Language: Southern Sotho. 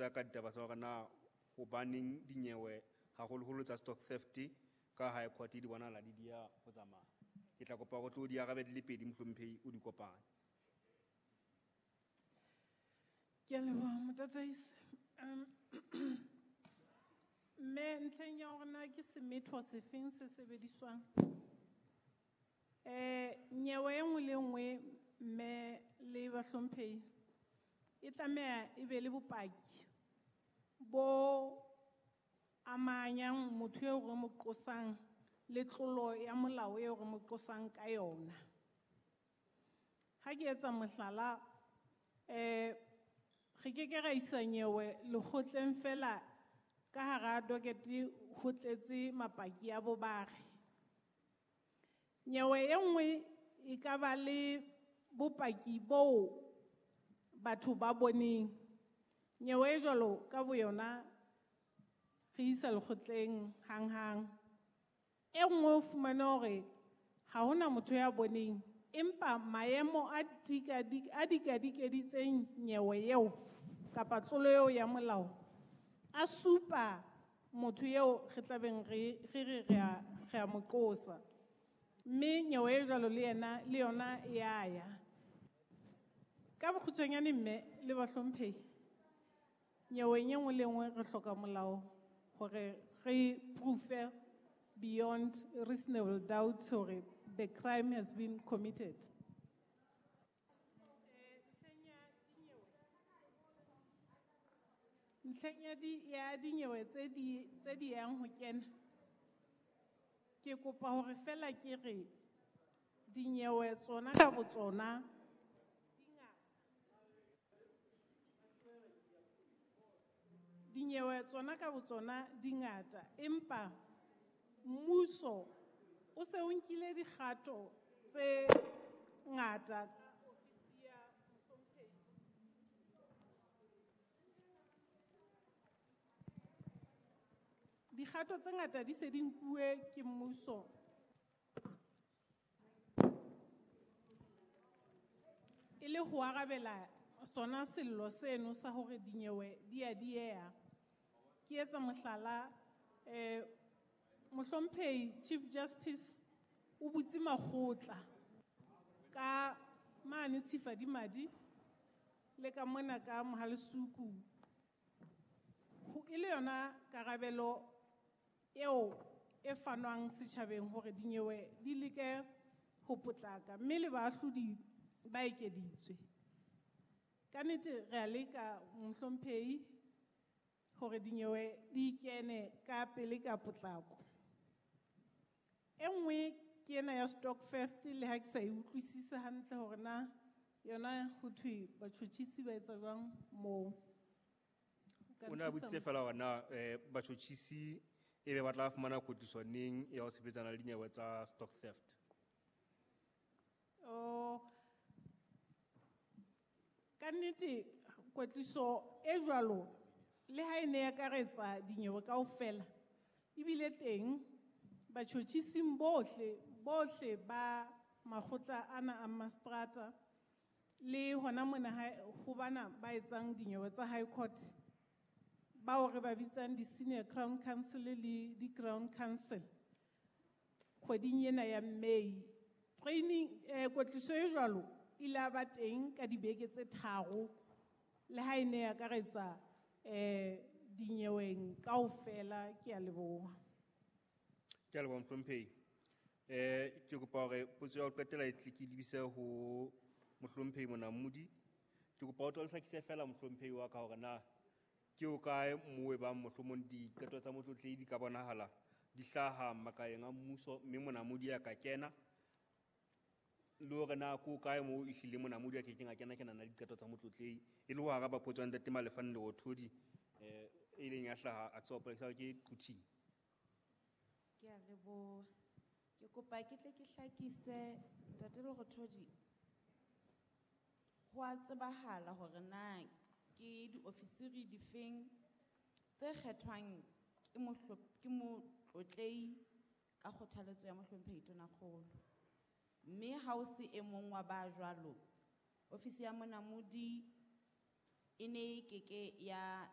botsa ka ditaba tsa hore na hobaneng dinyewe haholoholo tsa stock theft ka high court di bonahala di dia ho tsamaya. Ke tla kopa hore o tlo di arabe di le pedi mohlomphehi o di kopane. Ke a leboha motataisi. Mme ntlheng ya hore na ke semetho sefeng se sebediswang. Nyewe e nngwe le nngwe mme le bahlomphehi e tlameha e be le bopaki bo amanyang motho eo re mo qosang le tlolo ya molao eo re mo qosang ka yona. Ha ke etsa mohlala, re ke ke ra isa nyewe lekgotleng fela ka hara dokete ho tletse mapaki a bobare. Nyewe e nngwe e ka ba le bopaki boo batho ba boneng. Nyewe e jwalo ka boyona re isa lekgotleng hanghang. E nngwe o fumane hore ha hona motho ya boneng, empa maemo a a dikadikeditseng nyewe eo kapa tlolo eo ya molao a supa motho eo re tlabeng re re re a mo qosa. Mme nyewe e jwalo le yena, le yona ya ya. Ka bokgutshwanyane mme le bahlomphehi, nyeweng e nngwe le nngwe re hloka molao hore re proof-e beyond reasonable doubt hore the crime has been committed. Ntlheng ya ya dinyewe tse di yang ho kena, ke kopa hore fela ke re dinyewe tsona ka botsona di ngata. Dinyewe tsona ka botsona di ngata, empa mmuso o se o nkile dikgato tse ngata ka ofisi ya mohlomphehi. Dikgato tse ngata di se di nkuwe ke mmuso. E le ho arabela sona sello seno sa hore dinyewe di a dieha. Ke etsa mohlala, mohlomphehi Chief Justice o butse makgotla ka mane Tshifadimadi le ka mona ka Mohalesuku. Ho e le yona karabelo eo e fanwang setjhabeng hore dinyewe di leke ho potlaka, mme le baahlodi ba ekeditswe. Ka nnete re a leka mohlomphehi hore dinyewe di kene ka pele ka potlako. E nngwe ke ena ya stock theft, le ha ke sa e utlwisise hantle hore na yona ho thwe batjhotjhisi ba etsa jwang moo. Ka O ne a thusa botsitse mo- fela hore na, batjhotjhisi e be ba tla fumana kwetliso neng ya ho sebetsana le dinyewe tsa stock theft? Oh, ka nnete kwetliso e jwalo le ha e ne e akaretsa dinyewe kaofela, ebile teng batjhotjhising bohle ba makgotla ana a mastrata le hona mona ho bana ba etsang dinyewe tsa High Court bao re ba bitsang di-Senior Crown Counsel le di-Crown Counsel kgweding ena ya May. Training, kwetliso e jwalo ile ya ba teng ka dibeke tse tharo le ha e ne e akaretsa, dinyeweng kaofela. Ke a leboha. Ke a leboha mohlomphehi. Ke kopa hore potso ya ho qetela e tle ke lebise ho mohlomphehi Monamodi. Ke kopa o tlo hlakise fela mohlomphehi wa ka hore na ke o kae moo e bang mohlomong diqeto tsa motlotlehi di ka bonahala di hlaha makaleng a mmuso mme Monamodi a ka kena, le hore na ke o kae moo ehlile Monamodi a kekeng a kena kenana le diqeto tsa motlotlehi, e le ho araba potso ya Ntate Malefane Lerothodi, e leng ya hlaha a tswa polesa ke Quthing. Ke a leboha. Ke kopa ke tle ke hlakise Ntate Lerothodi. Ho a tsebahala hore na ke diofisiri difeng tse kgethwang ke motlotlehi ka kgothaletso ya mohlomphehi Tonakgolo. Mme ha o se e mong wa ba jwalo, ofisi ya Monamodi e ne e keke ya